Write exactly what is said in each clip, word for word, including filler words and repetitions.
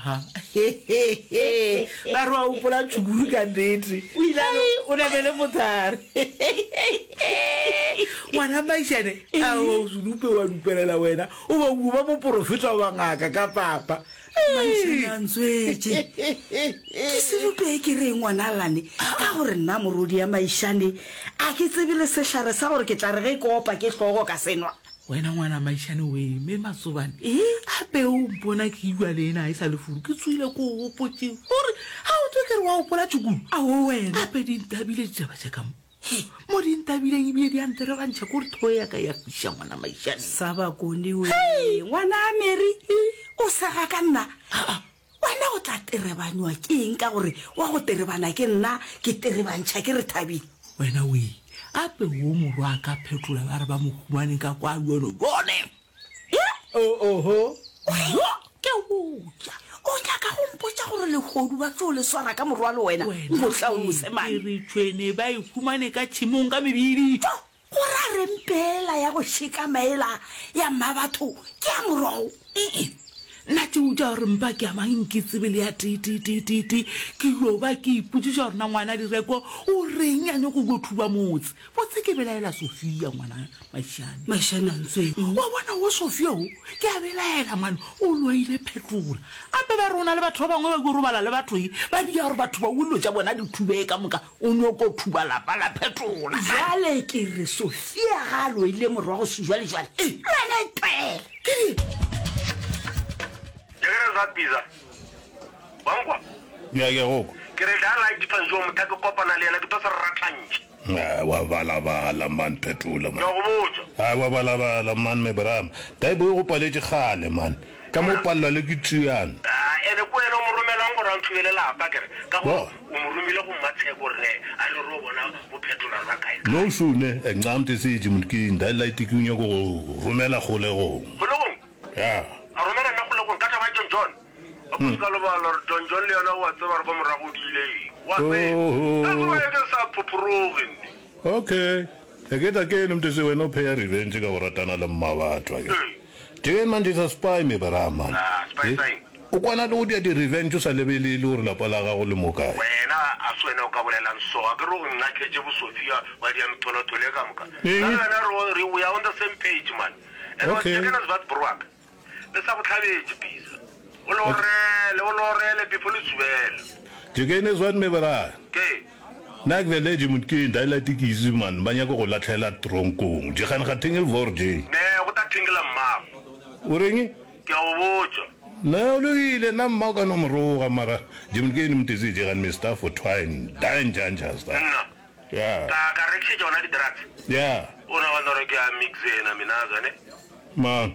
Aha. Ba re wa gopola tšhukuru ka nnete. O ile a no- Hei, o namele mothare. Ngwana Maišane, ao sedupe wa dupelela wena. O ba o ba moporofeta wa ngaka ka papa. Maišane a ntswetše. Ke sedupe ke reng ngwana Lane? Ka gore nna morodi ya Maišane a ke tsebe le sehlare sa gore ke tla re ge ke opa ke hlogo ka se nwa. Wena ngwana Maišane we, me Matsobane, Ee? gape o mpona ke ilwa le ena e sa le furu, ke tsoile ko o gopotše gore ga o tlo ke re wa gopola tšhukulu. Awo wena. Gape di ntabile ditaba tša ka mo. Mo di ntabileng ebile di a nterebantšha ko re thoe ya ka ya fiša ngwana Maišane. Sa bakone we. Ngwana a Mary, o sega ka nna. Wena o tla terebanywa ke eng ka gore wa go terebana ke nna, ke terebantšha ke re thabile. Wena we, ape wo morwa a ka phetola ba re ba mo humane ka kwa yone yone. Oho. Yo, Ke botša. o nyaka go mpotša gore lehodu ba tlo le swara ka morwalo wena, Wena mohla o ke mosemane. re tšhwene ba e humane ka tšhemong ka mebidi. Jo, go ra reng pela ya go šeka maela ya mmabatho ke ya morwago? Ee, nna tšeo tša gore mpa ke amang ke tsebe le ya tee tee tee tee tee ke yo ba ke ipotšiša gore na ngwana Direko o reng a nyako go thuba motse. Botse ke belaela Sofia ngwana Maišane. Maišane a ntsweng. Wa bona wo Sofia o ke a belaela mane o loile phetola. Ape ba re o na le batho ba bangwe ba yo robala le batho e ba dia gore batho ba dilo tša bona di thubee ka moka o nyoko thuba lapa la phetola. Bjale ke re Sofia ga a loile morwago sejwalejwale, le wena e tlwaele. Ke di Jekere za pizza. Wa nkwa? Ya ke go kwa. Ke re tla like tshwantšho motha ke kopana le yena ke tlo se ratlantšhe. Ah, wa balabala man phetola Ke man. a go botša. Ah, wa balabala man me bram. Taibo e go paletše kgale man. Ka mo palelwa le ke tšeana. Ah, ene ke wena o mo romelang gore a nthubele lapa kere ka gore Bo. o mo romile go Mmatsheko gore ne a re ro bona bophetola ba kae kae. No sune, ncamte se motho ke nda light ke o nyako go romela kgolegong. Kgolegong? Ya. A romela nna kgolegong ka taba ya John John? A ko se ka lebala gore John John le yena o a tseba gore ko morago o diile eng. Wa tseba. Oho. That's why ke sa phophoroge nne. Okay. E ke tla ke ene motho se wena o pheya revenge ka go ratana le mma batho ake. Ee. Jeke manje sa spy me bra man. Ah, spy Eh? sign. O kwana le go dia di revenge o sa lebelele gore lapa la gago le mo kae. Wena a se wena o ka bolelang so a ke re o nnakhetše bo Sophia wa dia metholotholo e ka moka. Nna Eng? le wena re re we are on the same page man. And wa Okay. Jeke na Zwart Broak. Le sa go hlabetše pisa. O le Okay. orele, o le orele before le tsubela. Jeke ne Zwart me bra. Ke. Nna ke vele motho ke ndaela tekisi man ba nyaka go latlhela tronkong. Jegane ga thengel vor je. Ne go ta thengela mmago. O reng? Ke a go botša. Na o lokile nna mma o ka no moroga mara je motho ke ene motho se jegane Mister for twine dangerous da. Nna. Yeah. Ka ka rekišetša ona di drugs. Yeah. O nagana gore ke a mix ena minaza ne? Man.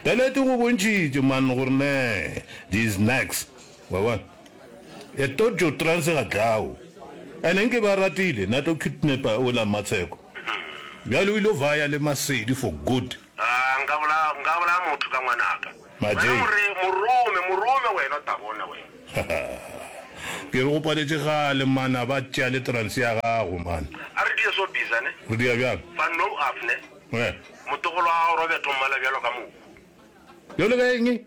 Dalete go bontšhitše man gore ne these next. Wa bona? E tojo trans ga tlao. Ene nke ba ratile na tlo kidnapper o la Matsheko. Bjale o ile vaya le Masedi for good. Ah, nka bolaya nka bolaya motho ka ngwanaka. Maje. Wena more morome morome wena o tla bona wena. Ke re go paletše gale man a ba tšea le trans ya gago man. A re die so bisa ne. Re dia bjang? Fa no af ne. Eh. Motogolo wa gago Robert o mmala bjalo ka mohu. Bjalo ka eng?